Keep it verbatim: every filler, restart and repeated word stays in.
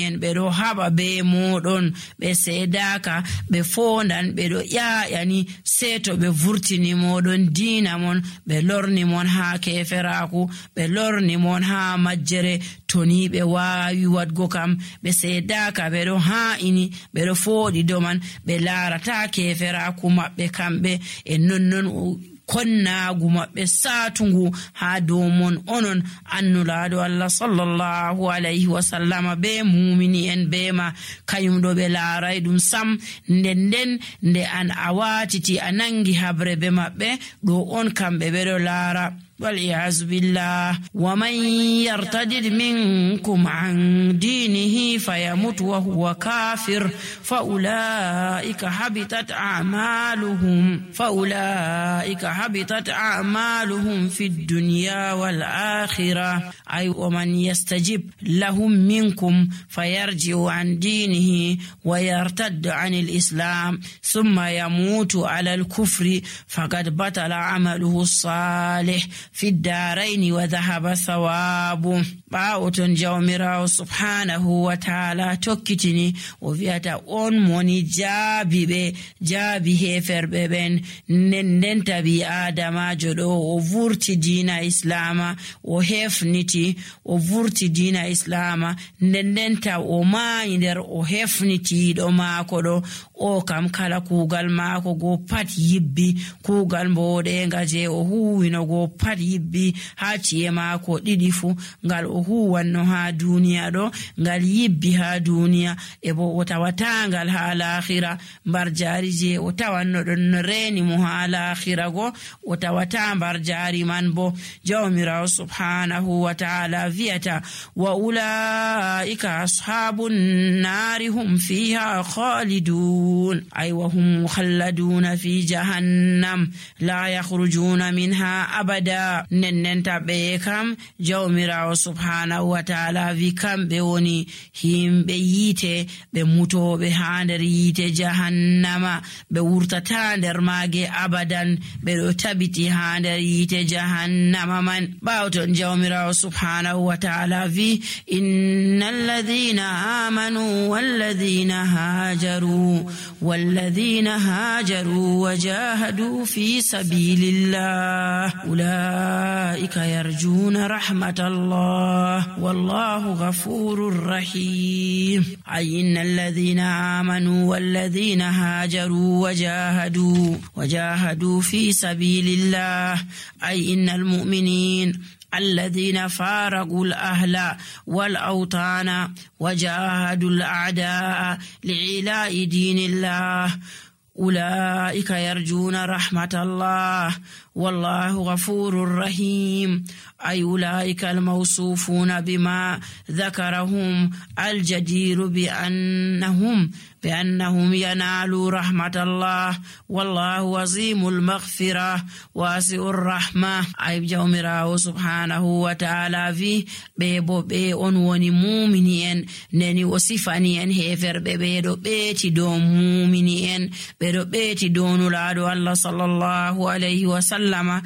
en ɓe ɗo haɓa be moɗon ɓe seedaka ɓe fondan ɓe ɗo ƴaƴani sei to ɓe vurtini moɗon diina mon ɓe lorni mon ha keferaku ɓe lorni mon ha majjere to ni ɓe wawi wadgo kam ɓe seedaka ɓe ɗo ha'ini ɓe ɗo fooɗi doman ɓe larata keferaku maɓɓe kamɓe e nonnon konnagu maɓɓe satungu ha dow mon onon annulaɗo Allah sallallahu alayhi wa sallama be mumini en be ma kayum ɗo ɓe laaray ɗum sam nden nden nde an a watiti a nangi habre be maɓɓe ɗo on kamɓe ɓe ɗo laara والعياذ بالله ومن يرتد منكم عن دينه فيمت وهو كافر فأولئك حبطت أعمالهم فأولئك حبطت أعمالهم في الدنيا والآخرة أي ومن يستجب لهم منكم فيرجع عن دينه ويرتد عن الإسلام ثم يموت على الكفر فقد بطل عمله الصالح في الدارين وذهب ثوابه باوتون جوميراو سبحانه وتعالى توكيتني وفياتا اون موني جابي بي جابي هيفر ببن نندن تبي آدم جدو وفورتي دين إسلاما وهفنتي وفورتي دين إسلاما نندن تا وما يندر وهفنتي دو ماكو دو o kam kala kugal maako go pat yibbi kugal mboɗenga je o huwino go pat yibbi ha ci'e maako ɗiɗi fu ngal o huwanno ha duniya ɗo ngal yibbi ha duniya e bo o tawatangal ha lahira mbar jari je o tawanno ɗon no reni mo ha lahira go o tawata mbar jari man bo jawmirawo subhanahu wa ta'ala viyata wa ulaika ashabun nari hum fiha khalidun أي وهم مخلدون في جهنم لا يخرجون منها أبدا نننتا بيكم جوميراو سبحانه وتعالى في كم بيوني هم بييته بموتو بهاندر ييته جهنم بورتتاندر ماغي أبدا بروتبتي هاندر ييته جهنم من باوتون جوميراو سبحانه وتعالى في إن الذين آمنوا والذين هاجروا والذين هاجروا وجاهدوا في سبيل الله أولئك يرجون رحمة الله والله غفور رحيم أي إن الذين آمنوا والذين هاجروا وجاهدوا وجاهدوا في سبيل الله أي إن المؤمنين الذين فارقوا الأهل والأوطان وجاهدوا الأعداء لعلاء دين الله أولئك يرجون رحمة الله والله غفور رحيم أي أولئك الموصوفون بما ذكرهم الجدير بأنهم بأنهم ينالوا رحمة الله والله عظيم المغفرة واسع الرحمة أي جوميراو سبحانه وتعالى في بيبو بي أنوني مؤمنين نني وصفانيين هفر بيبو بيتي دون مؤمنين بيبو بيتي دون لادو الله صلى الله عليه وسلم